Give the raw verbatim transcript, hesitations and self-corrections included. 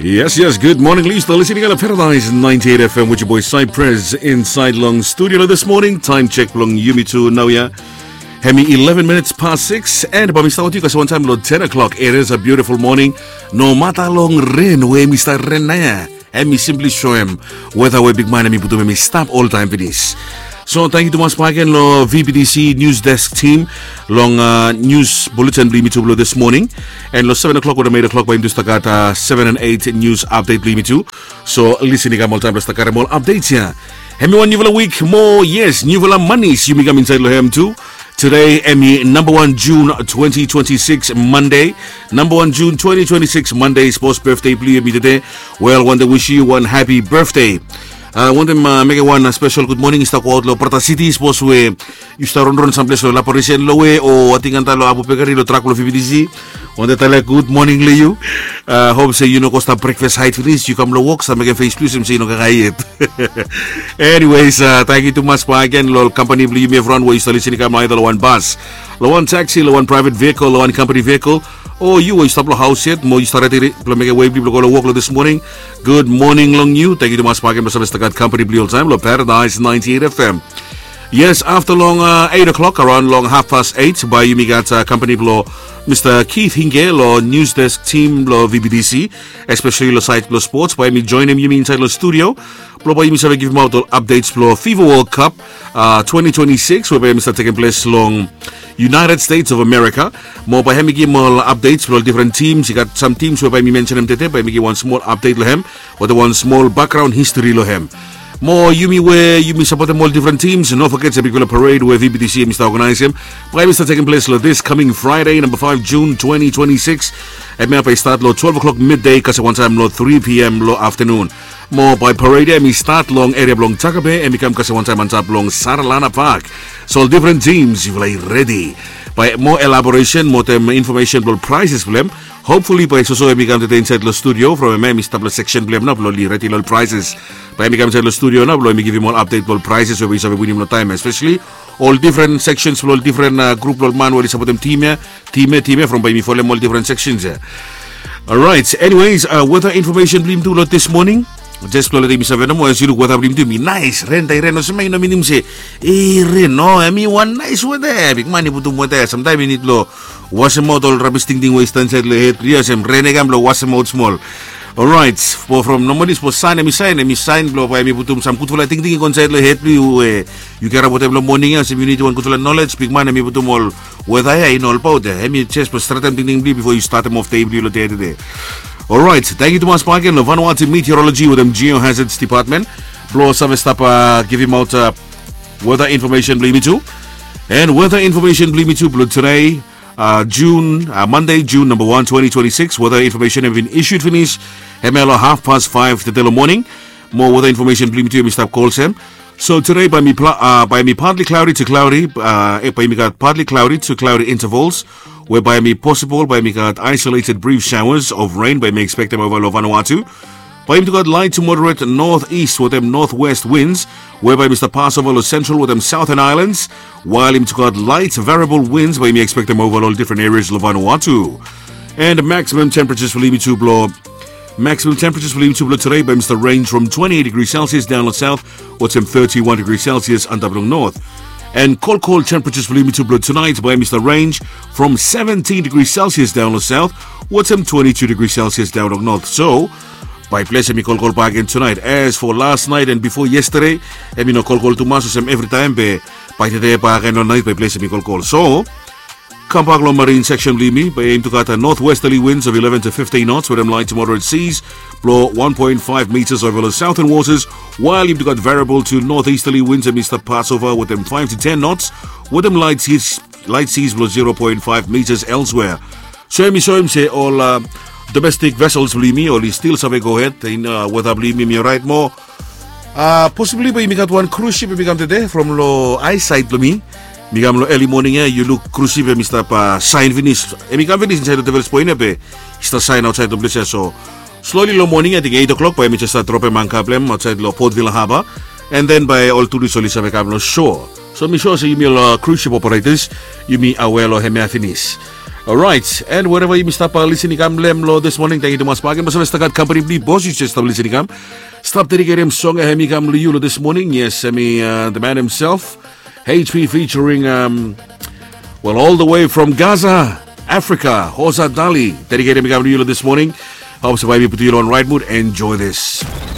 Yes, yes, good morning. Yu stap listening long Paradise ninety-eight F M with your boy Cypress inside long studio this morning. Time check long yumi tu naoia. Hemi eleven minutes past six, and bae mi stap wetem yu kasem wantaem long ten o'clock. It is a beautiful morning. Nomata long ren we hemi stap ren naoia, hemi simply soem weta we bigman hemi putum hemi stap oltaem finis. So tangkiu tumas bakegen long V B T C News Desk team long uh, news bulletin blong yumi tu blong this morning. And long seven o'clock wetem eight o'clock bae yumi tu stap gat uh, seven and eight news update blong yumi tu. So listen i kam oltaem blong stap karem ol updates ia. Hemi wan niufala wik moa, yes, niufala manis yumi kam insaed long hem tu. Today hemi namba wan Jun twenty twenty-six Monday. Namba wan Jun twenty twenty-six Monday, sapos birthday blong yu hemi tede, wel, wantem wish yu wan happy birthday. Uh, wantem uh, mekem wan uh, special good morning i stap go aot long Brata City, sapos we yu stap ronron samples long Laparisen long we o ating antap long Apu Bekari long trak blong V B T C. Wantem talem good morning long yu. Uh, hop se yu no go stap breakfast hait finis, yu kam long wok stap mekem face blong yu olsem se yu no kakae yet. Anyways, uh, tangkiu tumas bakegen long ol kampani blong yumi evriwan we yu stap listening i kam aida long wan bas, long wan taxi, long wan private vehicle, long wan company vehicle. O yu we yu stap long haos yet mo yu stap redi blong mekem wei blong yu blong go long wok long this morning. Good morning long yu. Tangkiu tumas bakegen blong save stap gat kampani blong yu oltaem long Paradise ninety-eight F M. Yes, afta long uh, eight o'clock, around long half past eight, bae yumi gat uh, kampani blong Mr. Keith Hinge long news desk team blong V B T C, especially long side blong sports. Bae hemi joinem yumi insaed long studio blong bae yumi save givimaot ol updates blong FIFA World Cup uh, twenty twenty-six we bae hemi stap tekem ples long United States of America. Mo bae hemi givim ol updates blong ol different teams. I gat sam teams we bae hemi mensenem tede, bae hemi givim wan smol update long hem wetem wan smol background history long hem. Mo yumi we yumi sapotem ol different teams, no foget se bigfala parade we V B T C hemi stap organizem, bae hemi stap tekem ples long this coming Friday, namba five Jun twenty twenty-six. Hemia bae i stat long twelve o'clock midday kasem wantaem long three p.m. long aftanun. Mo bae parade ia hemi stat long eria blong Takabe, hemi kam kasem wantaem antap long Saralana Park. So ol different teams yufala i redi. Bae moa elaboration mo wetem information blong ol prizes blong hem, hopefully bae soso hemi kam tede insaed long studio from hemia hemi stap long section blong hem nao blong oli redi long ol prizes. Bae hemi kam insaed long studio nao blong hemi givim ol update blong ol prizes we bae yu save winim long taem ia, especially ol different sections blong ol different uh, group blong ol man we oli sapotem team ia, team ia, team ia, from bae yumi folem ol different sections ia. Alright, anyways, uh, weather information blong yumi tu long this morning. Jes blong letem yumi save nomo, as yu luk weta blong yumi tu hemi naes. Ren, taem i ren olsem ia i no minim se i ren, no, hemi wan naes weta ia. Bigman i putum weta ia. Samtaem yu nid long wasemaot ol rabis tingting we i stap insaed long hed blong yu, olsem ren i kam blong wasemaot smol. Orait, from nomali sapos san hemi saen, hemi saen blong bae hemi putum sam gudfala tingting i go insaed long hed blong yu we yu karap wetem long moning ia, olsem yu nidim wan gudfala nolej. Bigman hemi putum ol weta ia i no olbaot ia. Hemi jes blong stretem tingting blong yu bifo yu statem of dei blong yu long dei tede. Orait, tangkiu tumas bakegen long Vanuatu Meteorology wetem Geohazards Department blong save stap givimaot weta infomesen blong yumi tu. And weta infomesen blong yumi tu blong tede, uh, Jun, uh, Mande, Jun namba wan, twenty twenty-six. Weta infomesen hemi bin issued finis hemia long hafpas faef tede long moning. Mo weta infomesen blong yumi tu hemi stap go olsem. So tede bae hemi partly cloudy to cloudy, uh, bae hemi gat partly cloudy to cloudy intervals we bae hemi posibol bae hemi gat isolated brief showers of rain bae hemi ekspektem ova long Vanuatu. Bae hemi tu gat light to moderate northeast wetem northwest winds we bae hemi stap pasova long Central wetem Southern Islands, wael hemi tu gat light variable winds bae hemi ekspektem ova long difren erias long Vanuatu. And maximum temperatures blong yumi tu blong maximum temperatures blong yumi tu blong tede bae hemi stap range from twenty-eight degrees Celsius daon long south wetem thirty-one degrees Celsius antap long north. And kolkol temperatures blong yumi tu blong tonight bae hemi stap range from seventeen degrees Celsius daon long south wetem twenty-two degrees Celsius daon long north. So bae ples hemi kolkol bakegen tonight. As for last night and bifo yestade, hemi no kolkol tumas olsem evritaem be bae tede bakegen long nait bae ples hemi kolkol. So kambak long marine section blong yumi, bae hemi tu gat northwesterly winds of eleven to fifteen knots wetem light to moderate seas blong one point five meters ova long southern waters, wael hemi tu gat variable to northeasterly winds hemi stap pasova wetem five to ten knots wetem light seas, light seas blong zero point five meters elsewhere. So hemi soem se ol, uh, domestic vessels blong yumi oli stil save gohed in, uh, weta blong yumi hemi oraet moa. Uh, posibli bae yumi gat wan cruise ship hemi kam tede from long aesaed blong mi. Mi kam long eli moning ia, yu luk cruise ship hemi stap, uh, saen finis. Hemi kam finis insaed long Devil's Point ia be i stap saen aotsaed long ples ia. So slowly long moning, ating eight o'clock, bae hemi jes stap dropem anka blong hem aotsaed long Port Vila Harbour. And then bae ol turist oli save kam long shore. So mi sua se yumi ol, uh, cruise ship operators, yumi aware long hemia finis. Alright, and wherever yumi stap listening kam long this morning, thank you tumas bagen. Basa stap gat company bli bos yu just stap listening kam. Stap dedicated song hemi kam long you this morning. Yes, hemi uh, the man himself, H P featuring um, well, all the way from Gaza, Africa, Hosa Dali. Dedicated hemi kam long you this morning. Hope so baby put you on right mood. Enjoy this.